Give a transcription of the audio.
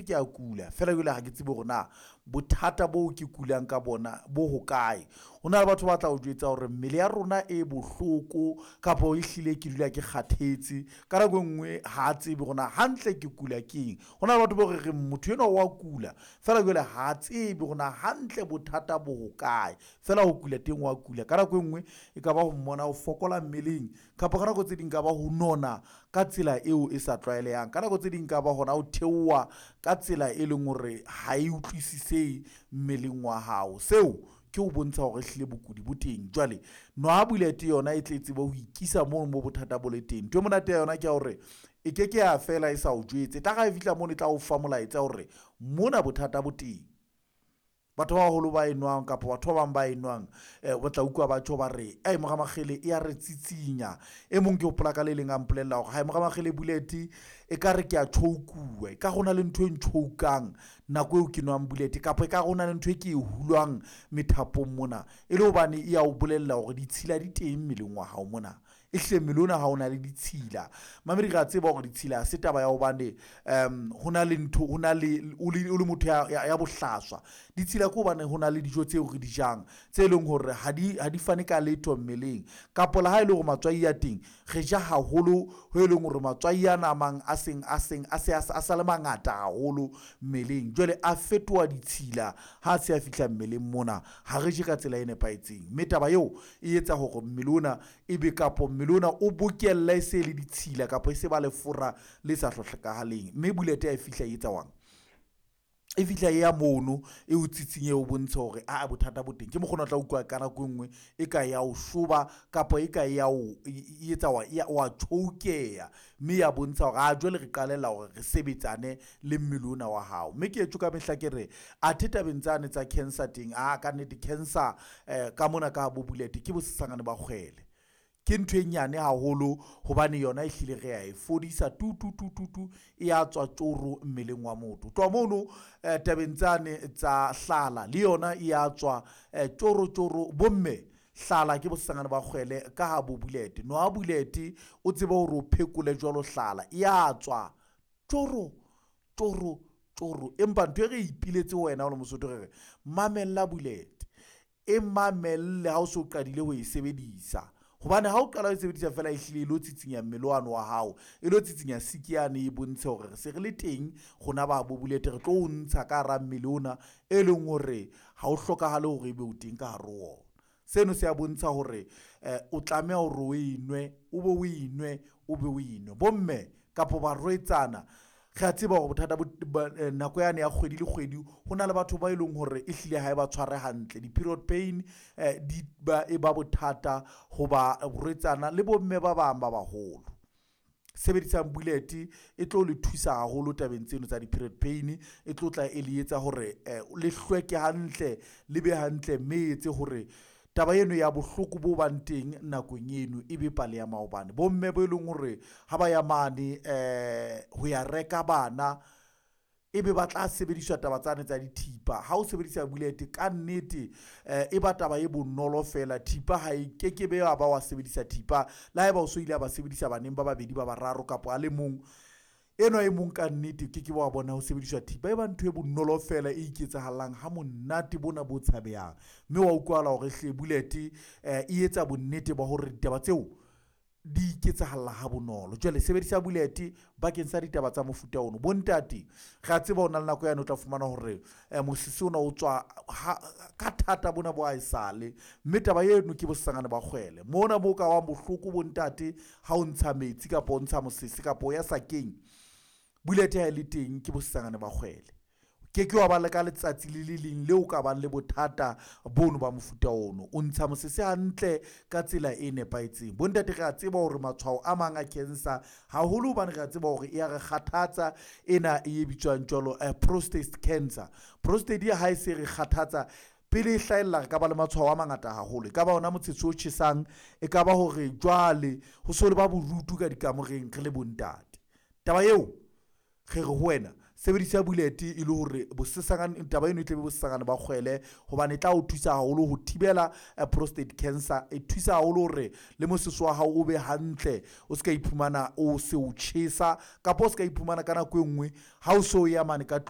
Kannete ke a kula feela jwale ha ke tsebe hore na bothata boo ke kulang ka bona bo hokae. Ho na le batho ba tla o jwetsa hore mmele ya rona e bohloko kapa ehlile ke dula ke kgathetse. Ka nako e nngwe ha a tsebe hore na hantle ke kula keng. Ho na le batho bao re reng motho enwa wa kula feela jwale ha a tsebe hore na hantle bothata bo hokae, feela ho kula teng wa kula. Ka nako e nngwe e ka ba ho mmona o fokola mmeleng, kapa ka nako tse ding ka ba ho nona ka tsela eo e sa tlwaelehang. Ka nako tse ding ka ba hona ho theoha ka tsela e leng hore ha e utlwisisehe mmeleng wa hao. Seo ke ho bontsha hore ehlile bokudi bo teng. Jwale nwa bullet yona e tle tsebe ho ikisa mono mo bothata bo le teng. Ntho e monate ya yona ke ya hore e ke ke ya fela e sa o jwetse, e tlare ha e fihla mono e tla o fa molaetsa hore mona bothata bo teng. Batho ba baholo ba e nwang kapa batho ba bang ba e nwang o tla utlwa batjho ba re ae mora Makgele e ya re tsitsinya. E mong ke hopola ka le leng a mpolella hore hae mora Makgele bullet e ka re ke a chokuwa, e ka ho na le ntho e nchokang nako eo ke nwang bullet, kapa e ka ho na le ntho e ke e hulwang methapong mona, e le hobane e ya o bolella hore ditshila di teng mmeleng wa hao mona. E hlile mmele ona ha o na le ditshila. Mamedi re a tseba hore ditshila ha se taba ya hobane ho na le ntho, ho na le o le motho ya bohlaswa. Ditshila ke hobane ho na le dijo tseo re di jang tse leng hore ha di fane ka letho mmeleng, kapa le ha e le hore matswai a teng re ja haholo ho e leng hore matswai ana a mang a seng a seng a se a sa le mangata haholo mmeleng, jwale a fetoha ditshila ha se a fihla mmeleng mona. Ha re je ka tsela e nepahetseng, mme taba eo e etsa hore mmele ona ebe kapo mmele ona o bokelle e se le ditshila kapa e se ba lefura le sa hlokahaleng. Mme bullet ha e fihla e etsa wang? E fihla e ya mono e o tsitsinye o bontshe hore aa bothata bo teng. Ke mokgona o tla utlwa ka nako e nngwe e ka ya o shoba kapa e ka ya o e etsa wa chokeha, mme ya bontsha hore a jwale re qalella hore re sebetsane le mmele ona wa hao. Mme ke etjo ka mehla ke re athe tabeng tsane tsa cancer teng, a kannete cancer ka mona ka bo bullet ke bosesangane ba kgwele. Ke ntho e nyane haholo hobane yona e hlile re a e fodisa tu tu tu tu tu, e ya tswa tjoro mmeleng wa motho. Ho tloha mono tabeng tsane tsa hlala le yona e ya tswa tjoro tjoro. Bomme hlala ke bosesangane ba kgwele ka ha bo bullet. Nwa bullet o tsebe hore o phekole jwalo hlala e ya tswa tjoro tjoro tjoro. Empa ntho e re ipiletse wena o le Mosotho re re mamella bullet, e mamelle ha o so qadile ho e sebedisa. Hobane ha o qala ho e sebedisa feela e hlile e lo tsitsinya mmele wane wa hao, e lo tsitsinya siki yane e bontshe hore re se re le teng rona ba bo bullet re tlo o ntsha ka hara mmele ona e leng hore ha o hlokahale hore ebe o teng ka hare ho ona. Seno se a bontsha hore o tlameha hore o e nwe, o be o e nwe, o be o e nwe. Bomme kapa barwetsana re a tseba hore bothata bo nako yane ya kgwedi le kgwedi ho na le batho ba e leng hore e hlile ha e ba tshware hantle. Di-period pain di ba e ba bothata ho barwetsana le bomme ba bang ba baholo. Sebedisang bullet e tlo le thusa haholo tabeng tseno tsa di-period pain, e tlo tla e le etsa hore le hlweke hantle, le be hantle, mme e etse hore taba eno ya bohloko bo bang teng nakong eno e be pale ya maobane. Bomme bo e leng hore ha ba ya mane ho ya reka bana, ebe ba tla sebediswa taba tsane tsa dithipa. Ha o sebedisa bullet ka nnete e ba taba e bonolo feela. Thipa ha e kekebe ya ba wa sebedisa thipa le haeba o so ile a ba sebedisa baneng ba babedi ba bararo kapa a le mong enwa e mong, ka nnete ke ke wa bona ho sebediswa thipa. E ba ntho e bonolo feela e iketsahallang ha monate bona bo tshabehang, mme wa utlwahala hore hle bullet e etsa bonnete ba hore ditaba tseo di iketsahalla ha bonolo. Jwale sebedisa bullet bakeng sa ditaba tsa mofuta ono. Bontate re a tseba ho na le nako yane o tla fumana hore mosese ona o tswa ka thata bona bo a esale, mme taba eno ke bosesangane ba kgwele. Mona mo ka bang bohloko bontate ha o ntsha metsi kapa o ntsha mosese kapa o ya sakeng, bullet ha e le teng ke bosesangane ba kgwele. Ke ke wa ba le ka letsatsi le le leng leo ka bang le bothata bono ba mofuta ono. O ntsha mosese hantle ka tsela e nepahetseng. Bontate re a tseba hore matshwao a mang a cancer haholo, hobane re a tseba hore e ya re kgathatsa ena e bitswang jwalo prostate cancer. Prostate ha e se re kgathatsa pele e hlahella, re ka ba le matshwao a mangata haholo. E ka ba ona motshetshe o tjhesang, e ka ba hore jwale ho so le ba bodutu ka dikamoreng re le bontate. Taba eo re re ho wena sebedisa bullet e le hore bosesangane taba eno e tle be bosesangane ba kgwele, hobane e tla o thusa haholo ho thibela prostate cancer. E thusa haholo hore le mosese wa hao o be hantle, o ska iphumana o se o tjhesa, kapa o ska iphumana ka nako e nngwe ha o so ya mane ka tlung.